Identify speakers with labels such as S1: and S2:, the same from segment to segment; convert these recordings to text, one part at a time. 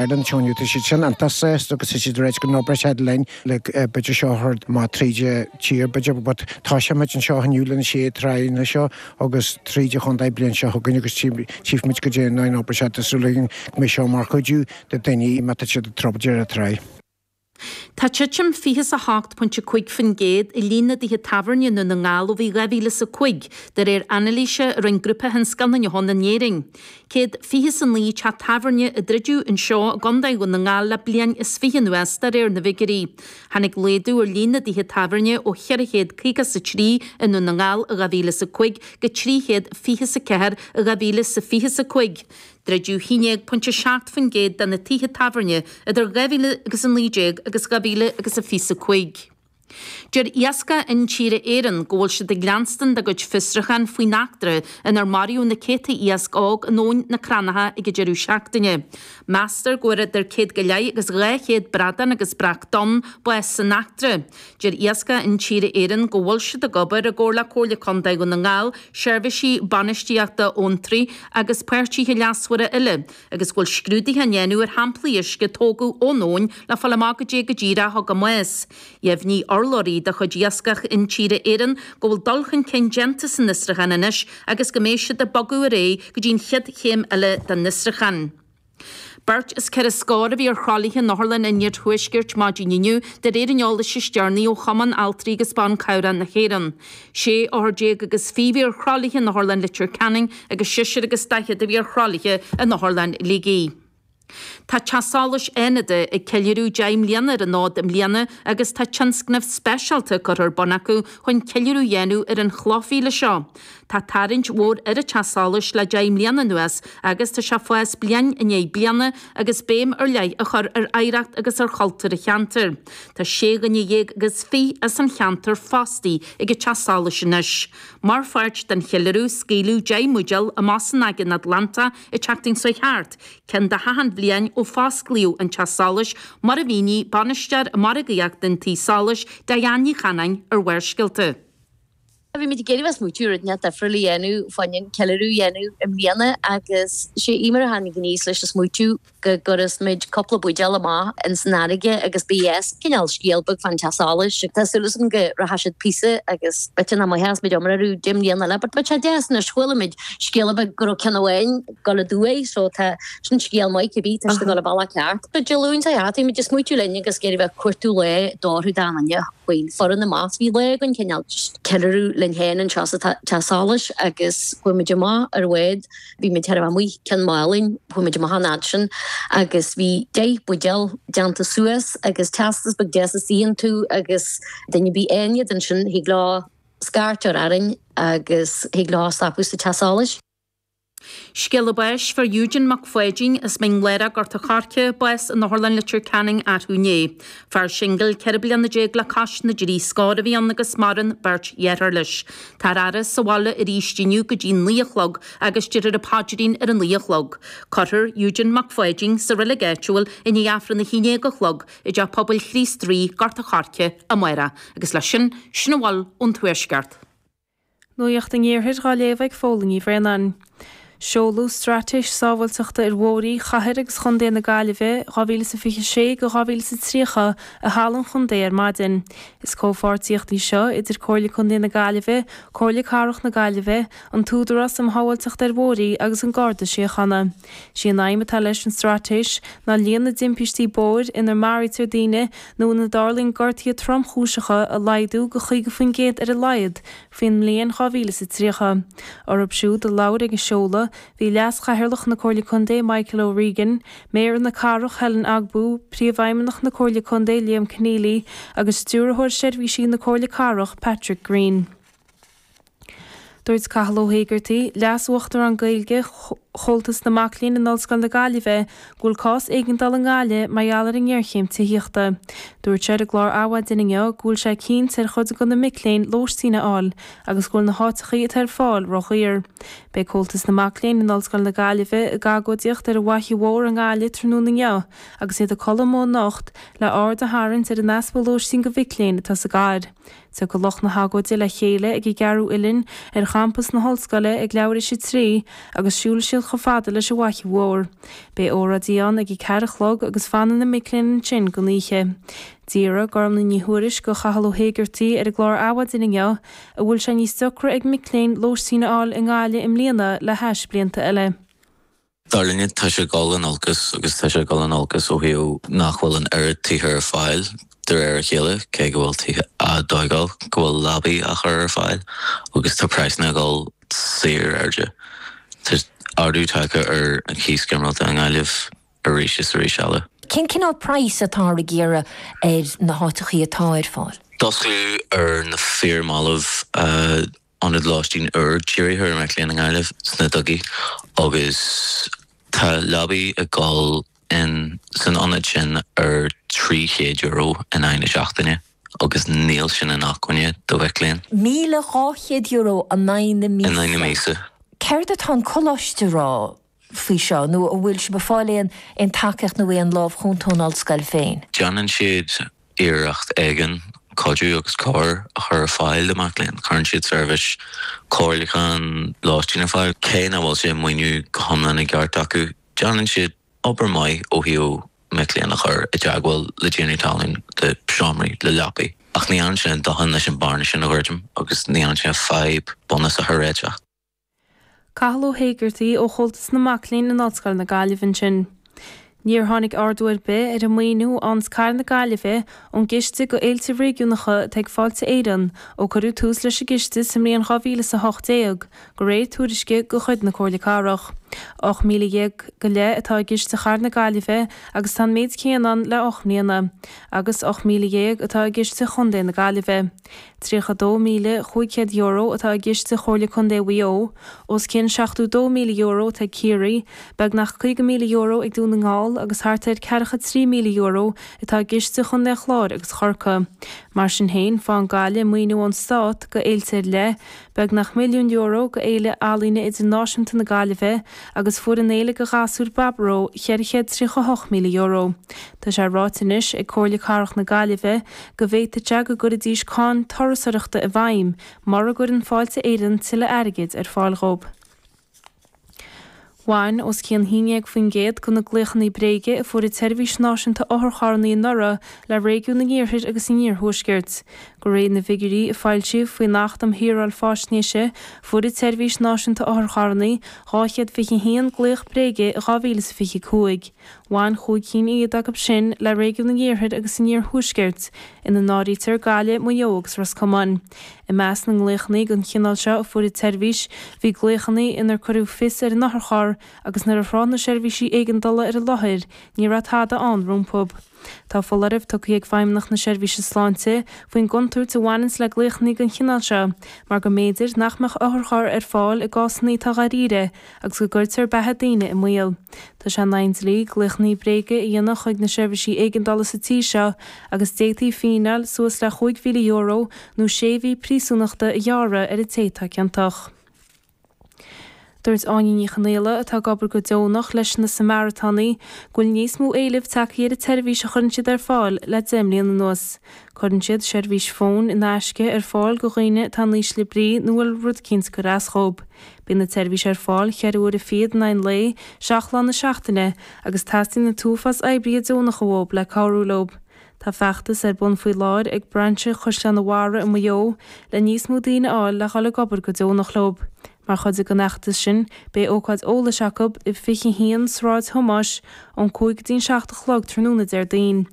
S1: Ireland anseo inniu, tá siad sin iontach sásta agus tá siad ag ráit go n-oibreoidh siad linn le b'fhéidir seo a chur amach tríd an tír b'fhéidir but toiseoidh muid anseo inniu le na sé tráigheanna seo agus tríd an chontae bliain seo chugainn agus tchífimid goidé an obair seo tá súil againn go mbeidh seo mar chuidiú do daoine má tá siad ag troid ar an tráigh.
S2: Tá titim 28.5% i líon na dtithe tábhairne i nDún na nGall ó bhí 2005, de réir anailíse a rinne Grúpa Thionscal na nDeon in Éirinn. 129 teach tábhairne a druideadh anseo i gContae Dhún na nGall le bliain is fiche anuas, de réir na bhfigiúirí. Tháinig laghdú ar líon na dtithe tábhairne ó 453 i nDún na nGall i 2005 go 324 i 2025. Druideadh 11.7% de na tithe tábhairne idir 2019 agus 2025. Deir Iascach Intíre Éireann go bhfuil siad ag leanstan dá gcuid fiosrúchán faoin eachtra inar maraíodh na céadta iasc óg in Abhainn na Cranncha ag an deireadh seachtaine. Meastar go bhfuair idir céad go leith agus 200 bradán agus breac donn bás san eachtra. Deir Iascach Intíre Éireann go bhfuil siad ag obair i gcomhar le Comhairle Contae Dhún na nGall, seirbhísí bainistíochta abhantraí agus páirtithe leasmhara eile agus go bhfuil scrúduithe á ndéanamh ar shamplaí uisce a tógadh ón abhainn le fáil amach goidé go díreach a thug a mbás. Dheimhnigh urlabhraí de chuid Iascach Intíre Éireann go bhfuil dul chun cinn déanta san fhiosrúchán anois agus go mbeidh siad ag bogadh ar aghaidh go dtí an chéad chéim eile den fhiosrúchán. Beirt is ceithre scór a bhí ar thralaithe in otharlann an Iarthuaiscirt maidin inniu, de réir an eolais is deireanaí ó Chumann Altraí agus Ban Cabhrach na hÉireann. 16 othar agus 20 a bhí ar thralaithe in Otharlann Leitir Ceanainn agus seisear agus daichead a bhí ar thralaithe in Otharlann Shligigh. Tá Teach Solais Fhánada ag ceiliúradh 10 mbliana ar an fhód i mbliana agus tá tionscnamh speisialta curtha ar bun acu chun ceiliúradh a dhéanamh ar an chlochmhíle seo. Tá tarraingt mhór ar an Teach Solais le 10 mbliana anuas agus tá sé ag fás bliain i ndiaidh bliana agus béim ar leith á chur ar oidhreacht agus ar chultúr an cheantair. Tá sé dhuine dhéag agus fiche as an cheantar fostaithe ag an Teach Solais anois. Mar pháirt den cheiliúradh, scaoileadh 10 mbuidéal amach san Aigéan Atlantach an tseachtain seo thart, ceann de achan bhliain ó fosclaíodh an Teach Solais, mar a mhínigh Bainisteoir Margaíochta an Tí Solais, Diane Ní Chanáin ar Bharrscéalta.
S3: Bhí muid ag iarraidh bheith smaoitiú rud inteacht difriúil a dhéanamh fá choinne an ceiliúradh a dhéanamh i mbliana agus sé Eimear a tháinig aníos leis an smaoitiú go gcuirfeas muid cúpla buidéal amach ins an fharraige agus ba dheas cineál scéal beag fán teach solais. Tá súil agam go rachaidh siad píosa agus b'fhéidir nach mbeadh muid iomrá orthu 10 mbliana eile but beidh sé deas anois chuala muid scéala beag go raibh ceann amháin ag dul aduaidh so tá sin scéal maith cibé tá siad ag dul an bealach ceart. But Dé Luain seo chuaigh bhí muid ag smaoitiú linn agus ag iarraidh bheith ag cuartú lá d'orthu don duine. faoin foireann amach. Bhí lá againn cineál just ceiliúradh linn féin anseo sa teach solais agus chuaigh muid amach ar bhád, bhí muid chóir a bheith amuigh Cionn Mhálanna, chuaigh muid amach an fhad sin agus bhí 10 buidéal déanta suas agus teastas beag deas istigh iontu agus duine ar bith a fhaigheann iad ansin thig leo scairt a chur orainn agus thig leo stopadh sa teach solais.
S2: Scéala báis Fuair Eugene Mac Pháidín as Mín Lárach, Gort a' Choirce, bás in Otharlann Leitir Ceanainn arú inné. Fear singil 14 bliana le cois na dtrí scór a bhí ann agus maireann beirt dheartháir leis. Táthar á fhaire sa bhaile arís inniu go dtí 9 a chlog agus déarfar an paidrín ar a 9 a chlog. Cuirfear Eugene Mac Pháidín sa reilig áitiúil i ndiaidh Aifreann a 11 a chlog i dTeach Pobail Chríost Rí, Gort a' Choirce, amárach. Agus leis sin, sin a bhfuil ón Tuaisceart.
S4: Nuacht an Iarthair dhá léamh ag Fódhla Ní Bhraonáin. Seoladh Straitéis Sábháilteachta ar Bhóithre Chathair agus Chontae na Gaillimhe 2026-2030 i Halla an Chontae ar maidin. Is comhpháirtíocht í seo idir Comhairle Contae na Gaillimhe, Comhairle Cathrach na Gaillimhe, an tÚdarás um Shábháilteacht ar Bhóithre agus an Garda Síochána. Sí an aidhm atá leis an straitéis ná líon na dtimpistí bóthair inar maraítear daoine nó ina dtarlaíonn gortuithe tromchúiseacha a laghdú go 50% ar a laghad faoin mbliain 2030. Orthu siúd a labhair ag an seoladh bhí Leas-Chathaoirleach na Comhairle Contae Michael O'Regan, Méara na Cathrach Helen Ogbu, Príomhfheidhmeannach na Comhairle Contae Liam Conneally agus Stiúrthóir Seirbhísí na Comhairle Cathrach Patrick Greene. Dúirt Cathal Ó hÉigeartaigh, Leas-Uachtarán Gaeilge Chomhaltas na Mac Léinn in Ollscoil na Gaillimhe, go bhfuil cás éigeandála i nGaillimh mar gheall ar an ngéarchéim tithíochta. Dúirt sé ar an gclár Adhmhaidin inniu go bhfuil sé cinnte ar chuid de na mic léinn lóistín a fháil agus go bhfuil na háiteachaí atá ar fáil ródhaor. Beidh Comhaltas na Mac Léinn in Ollscoil na Gaillimhe ag agóidíocht ar an bhFaiche Mhór i nGaillimh tráthnóna inniu agus iad ag codladh amuigh anocht le aird a tharraingt ar an easpa lóistín do mhic léinn atá sa gcathair. Tiocfaidh lucht na hagóide le chéile ag an gCeathrú Uilinn ar champas na hollscoile ag leathuair théis a 3 agus siúlfaidh siad. taisteal chomh fada leis an bhFaiche Mhór. Beidh óráidí ann ag a ceathair a chlog agus fanfaidh na mic léinn ansin don oíche. D'fhiafraigh Gormlaith Ní Thuairisg de Chathal Ó hÉigeartaigh ar an gclár Adhmhaidin inniu an bhfuil sé níos deocra ag mic léinn lóistín a fháil i nGaillimh i mbliana le hais blianta eile.
S5: Dar linne, tá sé ag dul in olcas agus tá sé ag dul in olcas ó thaobh nach bhfuil an oiread tithe ar fáil de réir a chéile, cé go bhfuil tithe á dtógáil, go bhfuil leabaí á chur ar fáil agus tá praghsanna ag dul saor airde. Tá ardú tagtha ar an chíos ginearálta i nGaillimh arís is arís eile.
S6: Cén cineál praghas atáthar ag iarraidh ar na háiteachaí atá ar fáil?
S5: D'osclaíodh ar na fíormhallaibh ionad lóistín úr dírithe ar mhic léinn i nGaillimh sna Dugaí agus tá leabaí ag dul in san ionad sin ar €300 in aghaidh na seachtaine agus níl sin inacmhainne do mhic léinn.
S6: €1,200 in aghaidh na
S5: míosa. In aghaidh na míosa.
S6: Céard atá an coláiste a rá faoi seo nó an bhfuil sibh ag fáil aon aon tacaíocht nó aon lámh chúnta ón ollscoil féin?
S5: Déanann siad iarracht éigin cuidiú agus cabhair a chur ar fáil do mhic léinn. Cuireann siad seirbhís comhairliúcháin lóistín ar fáil. Cé nach bhfuil sé maoiniú go hiomlán i gceart acu, déanann siad obair maith ó thaobh mic léinn a chur i dteagmháil le tiarnaí talún, le seomraí, le leapaí. Ach ní dhéanann sé a ndóthain leis an bearna sin a dhruidim agus ní dhéanann sé an fadhb bunúsach a réiteach.
S4: Cathal Ó hÉigeartaigh ó Chomhaltas na Mac Léinn in Ollscoil na Gaillimhe ansin. Níor tháinig ardú ar bith ar an maoiniú a fhaigheanns Cathair na Gaillimhe ón gCiste go Fhéilte Réigiúnacha atá ag Fáilte Éireann ó cuireadh tús leis an gciste sa mbliain 2018, de réir tuairisce de chuid na Comhairle Cathrach. 18,000 go leith atá i gciste Chathair na Gaillimhe agus tá an méid céanna ann le 8 mbliana, agus 18,000 atá i gciste Chontae na Gaillimhe. €32,500 atá i gciste Chomhairle Contae Mhaigh Eo, os cionn €72,000 atá ag Ciarraí, beagnach €50,000 ag Dún na nGall agus thart ar €43,000 atá i gciste Chontae an Chláir agus Chorcaí. Mar sin féin, faigheann Gaillimh maoiniú ón Stát go fhéilte ar leith, beagnach €1 milliún go Fhéile Ealaíne Idirnáisiúnta na Gaillimhe agus fuair an Fhéile go Ghasúir Baboró €438,000. Tá sé ráite anois ag Comhairle Cathrach na Gaillimhe go bhféadfadh sé go gcuirfidís cáin turasóireachta i bhfeidhm mura gcuireann Fáilte Éireann tuilleadh airgid ar fáil dhóibh. Bhain os cionn 11% de na glaochanna bréige a fuair an tSeirbhís Náisiúnta Otharcharranna anuraidh le réigiún an Iarthair agus an Iarthuaiscirt. De réir na bhfigiúirí a foilsíodh faoin Acht um Shaoráil Faisnéise, fuair an tSeirbhís Náisiúnta Otharcharranna 221 glaoch bréige in 2025. Bhain chúig cinn fhichead acu sin le réigiún an Iarthair agus an Iarthuaiscirt, ina n-áirítear Gaillimh, Maigh Eo agus Ros Comáin. I measc na nglaochanna den chineál seo a fuair an tseirbhís, bhí glaochanna inar cuireadh fios ar an otharcharr agus nuair a thráth na seirbhísí éigeandála ar an láthair, ní raibh tada ann rompu. Tá foláireamh tugtha ag Feidhmeannacht na Seirbhíse Sláinte faoin gcontúirt a bhaineanns le glaochanna den chineál seo mar go mb'fhéidir nach mbeadh otharcharr ar fáil i gcásanna atá dháiríre agus go gcuirtear beatha daoine i mbaol. Tá sé in aghaidh an dlí glaochanna bréige a dhéanamh chuig na seirbhísí éigeandála sa tír seo agus d'fhéadfaí fíneáil suas le €5,000 nó sé mhí príosúnachta a ghearradh ar an té atá ciontach. Dúirt Áine Ní Chonaola, atá ag obair go deonach leis na Samaritánaigh, go bhfuil níos mó éilimh tagtha ar an tseirbhís a chuireann siad ar fáil le 10 mbliana anuas. Cuireann siad seirbhís fóin in aisce ar fáil do dhaoine atá in ísle brí nó a bhfuil rud eicínt ag cur as dhób. Bíonn an tseirbhís ar fáil cheithre huaire fichead in aghaidh an lae, seacht lá na seachtaine, agus teastaíonn an t-uafás oibrithe deonacha uathub le cabhrú leob. Tá feachtas ar bun faoi láthair ag brainse Chaisleán an Bharraigh i Maigh Eo le níos mó daoine a fháil le dhul ag obair go deonach leob. Mar chuid den fheachtas sin, beidh ócáid eolais acu i 21 Sráid Thomáis ón 5 go dtí an 7 a chlog tráthnóna Déardaoin.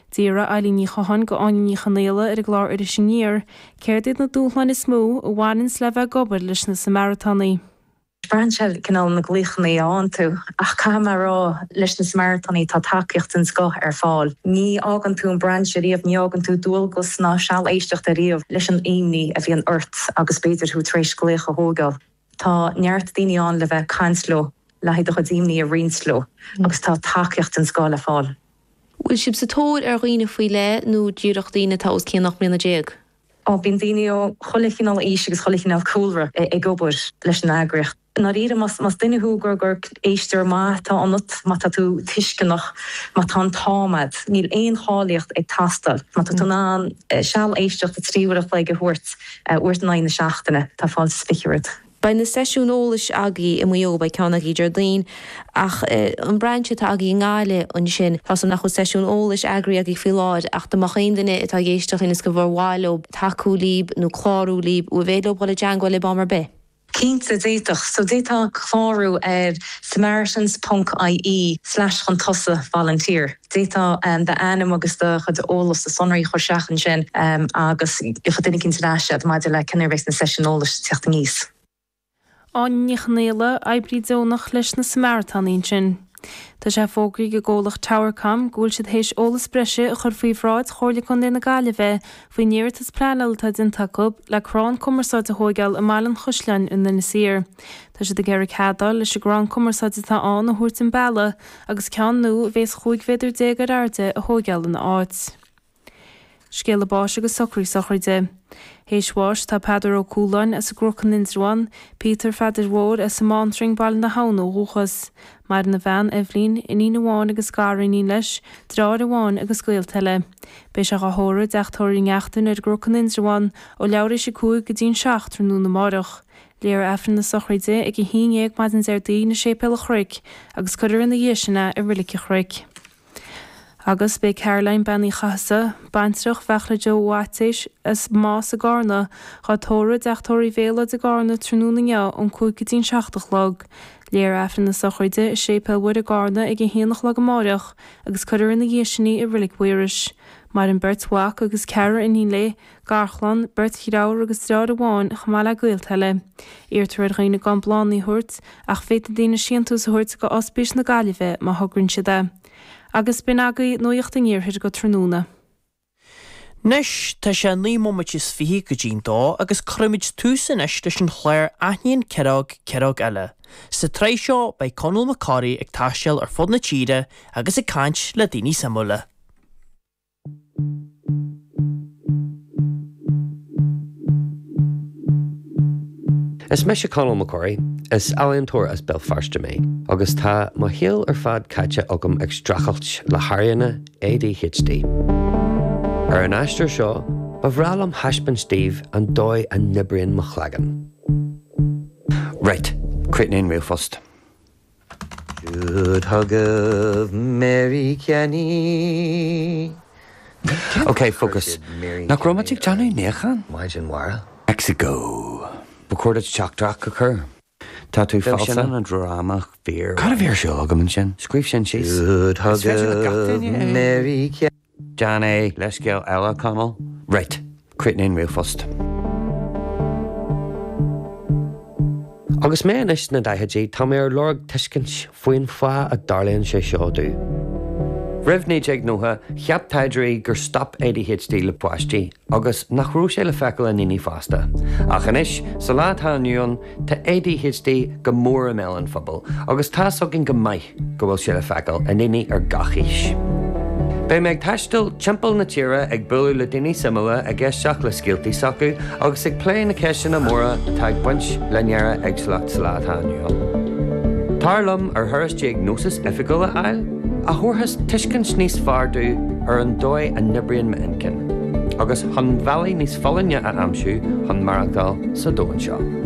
S4: D'fhiafraigh Eilín Ní Chatháin de Áine Ní Chonaola ar an gclár Iris Aniar céard iad na dúshláin is mó a bhaineanns le bheith ag obair leis na Samaritánaigh.
S7: Braitheann sé cineál na glaochanna a fhaigheann tú ach caithfidh mé a rá leis na Samaritánaigh tá tacaíocht den scoth ar fáil. Ní fhágann tú an brainse riamh, ní fhágann tú dualgas ná seal éisteachta riamh leis an imní a bhíonn ort agus b'fhéidir thú tar éis glaoch a thógáil. Tá neart daoine ann le bheith ag caint leo, le haghaidh do chuid imní a roinnt leo agus tá tacaíocht den scoth le fáil.
S6: Bhfuil sibh sa tóir ar dhaoine faoi leith nó díreach daoine atá os cionn 18 mbliana?
S7: Ó, bíonn daoine ó chuile chineál aois agus chuile chineál cúlra ag obair leis an eagraíocht. I ndáiríre, más duine thú gur gur éisteoir maith atá ionat, má tá tú tuisceanach, má tá an t-am agat, níl aon cháilíocht ag teastáil. Má tá tú in ann seal éisteachta 3 uair a chloig a thabhairt uair in aghaidh na seachtaine, tá fáilte is fiche romhat.
S4: Beidh na seisiúin eolais agaibh i Maigh Eo, beidh ceann agaibh Déardaoin, ach an brainse atá agaibh i nGaillimh ansin, tá 's agam nach bhfuil seisiún eolais eagraithe agaibh faoi láthair ach dá mbeadh aon duine atá ag éisteacht linn is gur mhaith leo tacú libh nó clárú libh, an féidir leo dul i dteangmháil libh am ar bith?
S7: Cinnte, d'fhéadfadh. So d'fhéadfá clárú ar samaritans ponc ie slash chun tosaigh volunteer. D'fhéadfá d'ainm agus do chuid eolas, do sonraí a chur isteach ansin agus gheobhaidh duine éicint ar ais iad maidir le cén uair a bheas na seisiúin eolais ag teacht aníos.
S4: Áine Ní Chonaola, oibrí deonach leis na Samaritánaigh ansin. Tá sé fógraithe ag an gcomhlacht Towercom go bhfuil siad théis eolas breise a chur faoi bhráid Chomhairle Contae na Gaillimhe faoin iarratas pleanála atá déanta acu le crann cumarsáide a thóigeáil i mBaile an Chaisleáin in Inis Oírr. Tá siad ag iarraidh cead a fháil leis an gcrann cumarsáide atá ann a thabhairt den bealach agus ceann nua a bhéas 15 mhéadar ar airde a thóigeáil ina áit. Scéala báis agus socraí sochraide. Théis bháis tá Peadar Ó Cualáin as an gCnoc in Indreabhán, Peter Pheadair Mhóir as an mBántrang, Baile na hAbhann ó dhúchas. Maireann a bhean, Eibhlín, iníon amháin agus gariníon leis, deartháir amháin agus gaolta eile. Beidh sé dhá thórramh i dteach tórraimh Uí Neachtain ar an gCnoc in Indreabhán ó leathuair théis 5 go dtí an 7 tráthnóna amáireach. Léifear Aifreann na sochraide ag 11 maidin Déardaoin i Séipéal an Chnoic agus cuirfear ina dhiaidh sin é i Roilig an Chnoic. Agus b'é Caroline Bean Uí Chathasaigh, baintreach Bheartla Joe Mhaitéis as Más i gCarna, dhá tórramh i dteach tórraimh Mhéalóid i gCarna tráthnóna inniu ón 5 go dtí an 7 a chlog. Léifear Aifreann na sochraide i Séipéal Mhuire i gCarna ag 1 a chlog amáireach agus cuirfear ina dhiaidh sin í i Roilig Mhaorais. Maireann beirt mhac agus ceathrar iníon léi, garchlann, beirt dhreabhar agus dreabhar amháin chomh maith le gaolta eile. Iarrtar ar dhaoine gan bláthanna a thabhairt ach féadfaidh daoine síntiús a thabhairt go Ospís na Gaillimhe má thograíonn siad é. Agus b'in agaibh Nuacht an Iarthair go tráthnóna.
S8: Anois, tá sé 9 mbomaite is 20 go dtí'n dó agus cuirfimid tús anois leis an chlár Aithníonn Ciaróg Ciaróg Eile. Sa tsraith seo beidh Conall Mac Corraidh ag taisteal ar fud na tíre agus ag caint le daoine suimiúla.
S9: Is mise Conall Mac Corraidh. Is ealaíontóir as Béal Feirste mé agus tá mo shaol ar fad caite agam ag streachailt le hairíonna ADHD. Ar an aistear seo, ba bhreá liom thaispeáint daoibh an dóigh a n-oibríonn mo chloigeann. Right, críochnaigh an ríomhphost. Jude Thugadh Mary Kenny. Ok, focus. Nach raibh muid ag déanamh níochán? Maidin mhaith. Mexico. Ba chóir duit teachtaireacht a chur. Tá tú falsa. Sin an dráma fíor. Cad a bhí ar siúl agam ansin? Scríobh sin síos. Jude Is féidir le gach duine é. Mary Kenny. Déan é. Leithscéal eile, Conall. Right. Críochnaigh an ríomhphost. Agus mé anois sna daichidí, tá mé ar lorg tuiscint faoin fáth a dtarlaíonn sé seo domh. Roimh 1990, cheap taighdeoirí gur stop ADHD le páistí agus nach raibh sé le feiceáil i ndaoine fásta. Ach anois, sa lá atá inniu ann, tá ADHD go mór i mbéal an phobail agus tá's againn go maith go bhfuil sé le feiceáil i ndaoine ar gach aois. Beidh mé ag taisteal timpeall na tíre ag bualadh le daoine suimiúla, ag éisteacht le scéaltaí s'acu agus ag plé na ceisteanna móra atá ag baint le néara-éagsúlacht sa lá atá inniu ann. Tar liom ar thuras diagnósis oifigiúil a fháil, a thabharfas tuiscint níos fearr domh ar an dóigh a n-oibríonn m'inchinn, agus chun bealaí níos folláine a aimsiú chun maireachtáil sa domhan seo.